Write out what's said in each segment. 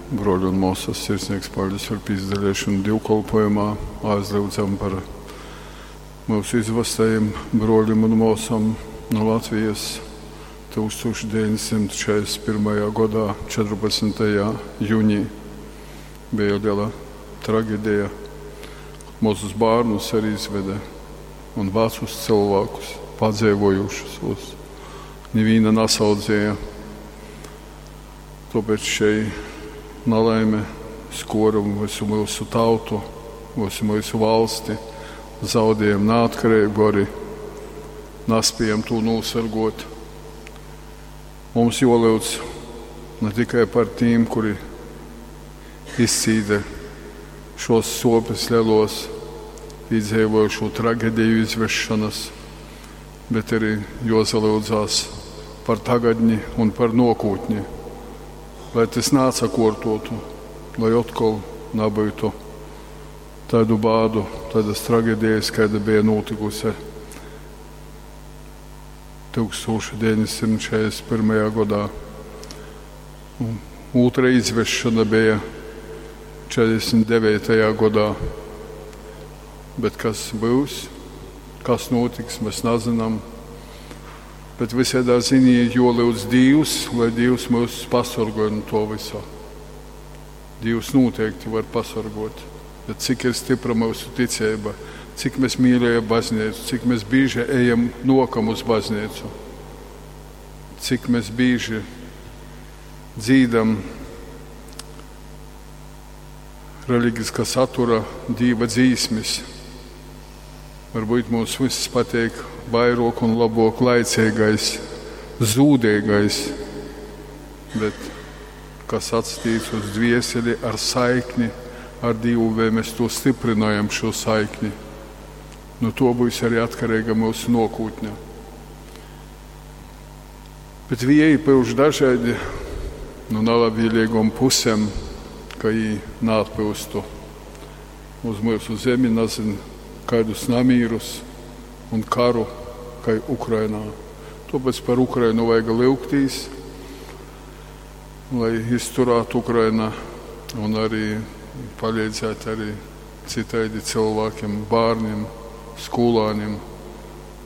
Broļi un mōsas, sirsnīgs paļdis par pīsadalīšanu dīvkolpojumā. Aizlyudzam par mūsu izvastajiem broļiem un mōsam no Latvijas 1941. Godā 14. Jūnī bija liela traģēdija. Mazus bērnus arī izveda un vecus cilvēkus, padzīvojušus. Neviena nesaudzēja. Tāpēc šī nelaime skora visu mūsu tautu, visu mūsu valsti. Zaudējam neatkarību arī, nespējam to nosargot. Mums jolūdz ne tikai par tiem, kuri izcīda šos sopes lielos, piedzīvoja šo traģēdiju izvešanas, bet arī jozalūdzās par tagadni un par nokūtni, lai tas nācakortotu, lai atkal nebūtu tādu bādu, tādas traģēdijas, kāda bija notikusi 1941. Gadā. Un otra izvešana bija 49. Gadā. Bet kas būs, kas notiks, mēs nezinām. Bet visādā ziņā jolūdz Dievs, lai Dievs mūs pasargāj no to visa. Dievs noteikti var pasargot. Bet cik ir stipra mūsu ticība, cik mēs mīļojam baznīcu, cik mēs bieži ejam nokam uz baznīcu, cik mēs bieži dzīdam reliģiska satura Dieva dzīsmis. Varbūt mums viss patīk vairāk un labāk laicīgais, zūdīgais, bet kas atstīts uz dvieseli ar saikni ar Dievu, vai mēs to stiprinājam šo saikni. No to būs arī atkarīga mūsu nokūtne. Bet vieji pyuš dažādi no nelabvēlīgām pusēm, ka viņi neatpūstu uz mūsu zemi, nezin, kādus namīrus un karu, kā Ukrainā. Tāpēc par Ukrainu vajag lūgtīs, lai izturētu Ukraina un arī palīdzētu arī citādi cilvēkiem, bērniem, skolāniem,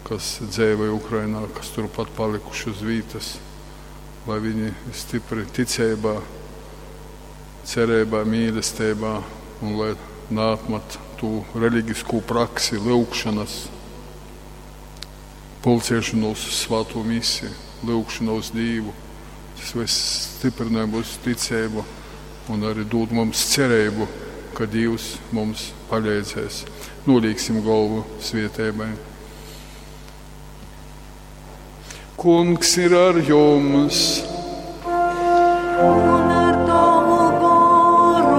kas dzīvoja Ukrainā, kas turpat palikuši uz vietas, lai viņi stipri ticībā, cerībā, mīlestībā un lai neatmet to reliģisko praksi, lūgšanas, pulcēšanos uz svēto misiju, lūgšanu uz Dievu. Tas viss stiprina mūsu ticību un arī dod mums cerību, ka Dievs mums palīdzēs. Nolīksim galvu svietēbai. Kungs ir ar jums! Un ar tavu goru.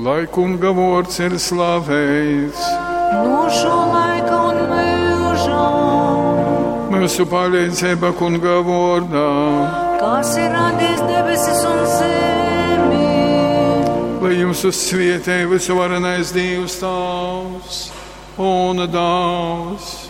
Lai kunga vārds ir slavēts, No šo laika un mūžam, mūsu palīdzība kunga vārdā, kas ir radījis debesis un zemi. lai jums uzsvietē visuvarenais Dievs Tavs un Dāvs.